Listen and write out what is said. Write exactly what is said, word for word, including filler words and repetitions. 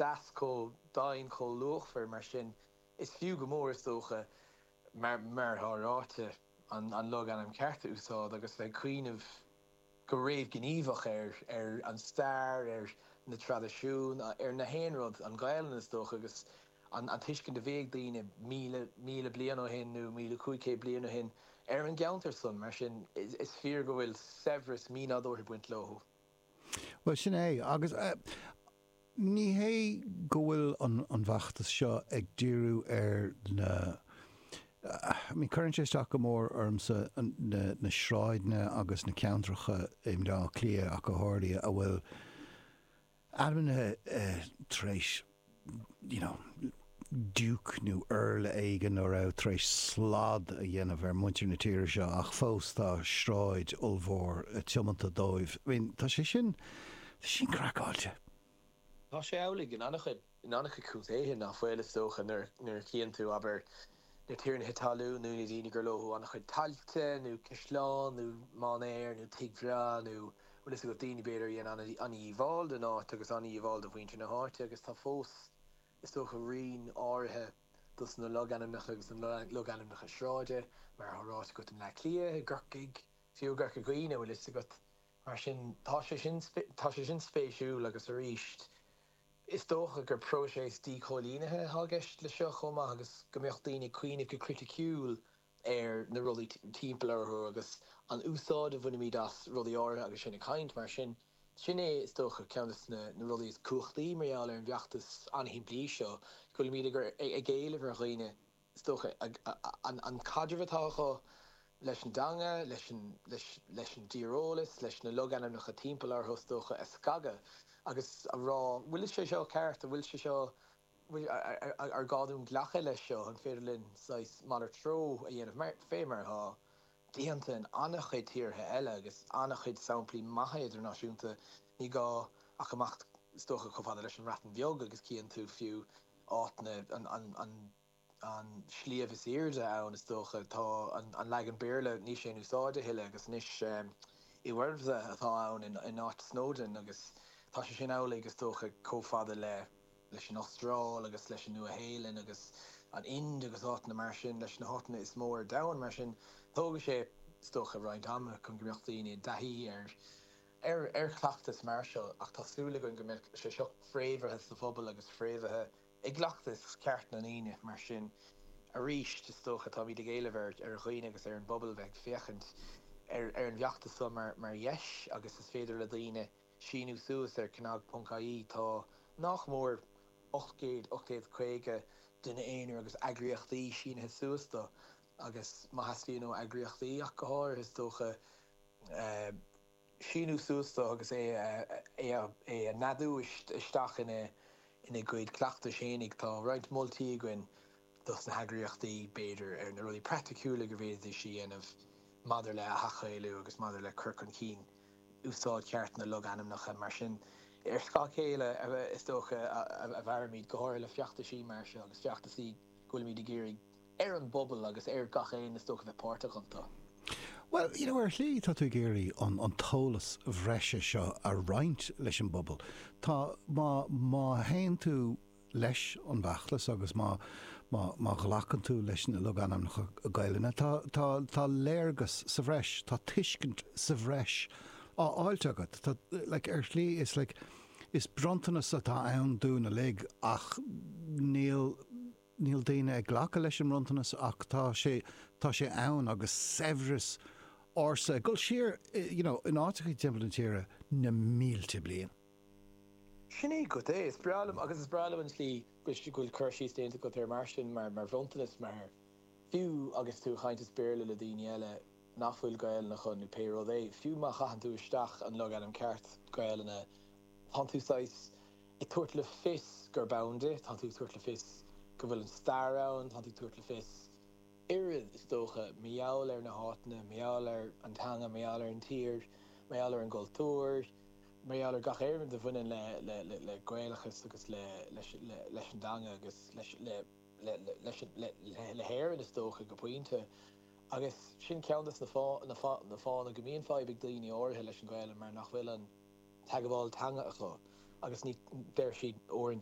deas, chomh domhain, chomh luachmhar mar sin. Is fiú go mór, is dócha, mar mar atá ráite, an an logainm ceart a úsáid agus bheith ag cuimhneamh go réamhghníomhach ar ar an stair, ar na traidisiúin, ar na haon rud, an Ghaelainn is dócha, agus an an tuiscint a bhí ag daoine míle míle bliain ó shin nó míle cúig chéad bliain ó shin ar an gceantar san. Mar sin, is fíor go bhfuil saibhreas mínádúrtha ag baint leo. Bhuel, sin é. Agus ní hé go bhfuil an an bhfeachtas seo ag díriú ar na, I mean, cuireann sé isteach go mór ormsa na na sráideanna agus na ceantracha i mBleá Cliath ach go háirithe a bhfuil ainmnithe tar éis, you know, Duke nó Earl éigin a raibh tar éis slad a dhéanamh ar muintir na tíre seo ach fós tá sráid ollmhór tiomanta dóibh. I mean, tá sé sin, tá sé sin craiceáilte. Tá sé amhlaidh in an-chuid in an-chuid contaetha nach bhfuil, is dócha, nuair nuair a chíonn tú, abair, na tiarnaithe talún nó na daoine gur leo an-chuid tailte nó caisleán nó mainéar nó tigh bhreá nó bhfuil fhios agat, daoine b'fhéidir a dhéan an-dhíobháil don áit agus an-dhíobháil do mhuintir na háite agus tá fós, is dócha, rian áirithe dos na logainmneacha agus na logainmneacha sráide, mar atá ráite agat, i mBleá Cliath, i gCorcaigh, fiú i gCorca Dhuibhne, bhfuil fhios agat. Mar sin, tá sé sin, tá sé sin spéisiúil agus arís, is dócha gur próiseas díchoilínithe atá i gceist le seo chomh maith agus go mbeadh daoine ag cuimhneamh go criticiúil ar na rudaí timpeall orthu agus an úsáid a bhainimid as rudaí áirithe agus sinn ag caint. Mar sin, sin é, is dócha, ceann de na rudaí is cumhachtaí mar gheall ar an bhfeachtas an-shimplí seo, go bhfuilimid ag éileamh ar dhaoine, is dócha, an caidreamh atá acu leis an dteanga, leis an dtíreolas, leis na logainmneacha timpeall orthu, is dócha, a scagadh agus a rá, bhfuil sé seo ceart, an bhfuil sé seo, ar gá dúinn glacadh leis seo, an féidir linn saghas malairt treo a dhéanamh, fé mar atá déanta in an-chuid tíortha eile agus an-chuid samplaí maithe idirnáisiúnta, ní gá ach imeacht, is dócha, chomh fada leis an mBreatain Bheag agus cíonn tú fiú áit na, an, an, an sliabh is airde ann, is dócha, tá an leagan Béarla, níl sé in úsáid a thuilleadh agus anois Y Wyrddfa atá ann in áit Snowdon agus tá sé sin amhlaidh, is dócha, chomh fada le leis an Astráil agus leis an Nua-Shéalainn agus an Ind agus áiteanna mar sin, leis na háiteanna is mó ar domhan. Mar sin, tógfaidh sé, is dócha, roinnt ama chun go mbeadh daoine i dtaithí ar ar ar chleachtas mar seo ach tá súil againn go mbeadh sé seo fréamhaithe sa phobal agus fréamhaithe i gcleachtas ceart na ndaoine. Mar sin, arís, is dócha, táimid ag éileamh ar ar dhaoine agus ar an bpobal bheith ag féachaint ar ar an bhfeachtas seo mar mar dheis agus is féidir le daoine síniú suas ar cnag ponc ie. Tá nach mór ocht gcéad, ocht gcéad caoga duine aonair agus eagraíochtaí sínithe suas dó agus má theastaíonn ó eagraíochtaí ach go háirithe, is dócha, síniú suas dó agus é é a neadú isteach ina ina gcuid cleachtais fhéinig. Tá roinnt moltaí againn dos na heagraíochtaí, b'fhéidir, ar na rudaí praiticiúla go bhféadfaidís a dhéanamh maidir le hathghaelú agus maidir le cur chun cinn úsáid cheart na logainmneacha. Mar sin, ar scáth a chéile, is dócha, a mhairimid, go háirithe le feachtaisí mar seo agus feachtaisí go bhfuilimid ag iarraidh ar an bpobal agus ar gach éinne, is dócha, bheith páirteach iontu. Bhuel, you know, ar shlí tá tú ag iarraidh an an t-eolas bhreise seo a roinnt leis an bpobal. Tá, má, má théann tú leis an bhfeachtas agus má, má, má ghlacann tú leis na logainmneacha Gaelainne, tá, tá, tá léargas sa bhreis, tá tuiscint sa bhreis á fháilt agat. Tá, like, ar shlí is, like, is bronntanas atá ann dúinn uilig ach níl, níl daoine ag glacadh leis an mbronntanas ach tá sé, tá sé ann agus saibhreas ársa ag dul siar, you know, in áiteacha timpeall na tíre na mílte bliain. Sin é agat é. Is breá liom, agus is breá liom an tslí go bhfuil cur síos déanta agat air mar sin, mar mar bhronntanas, mar fiú agus tú ag caint as Béarla le daoine eile nach bhfuil Gaelainn acu nó pé rud é, fiú má chaitheann tú isteach an logainm ceart Gaelainne, tánn tú saghas ag tabhairt le fios gurb ann di, tánn tú ag tabhairt le fios go bhfuil an stair ann, tánn tú ag tabhairt le fios oiread, is dócha, mar gheall ar na háiteanna, mar gheall ar an teanga, mar gheall ar an tír, mar gheall ar an gcultúr, mar gheall ar gach aon rud a bhaineann le le le Gaelachas agus le leis le leis an dteanga agus leis le le leis le le hÉirinn, is dócha, go pointe. Agus sin ceann de na fá na fá na fáthanna go mbíonn fadhb ag daoine áirithe leis an Ghaelainn mar nach bhfuil an teagmháil teanga acu agus ní deir siad uaireanta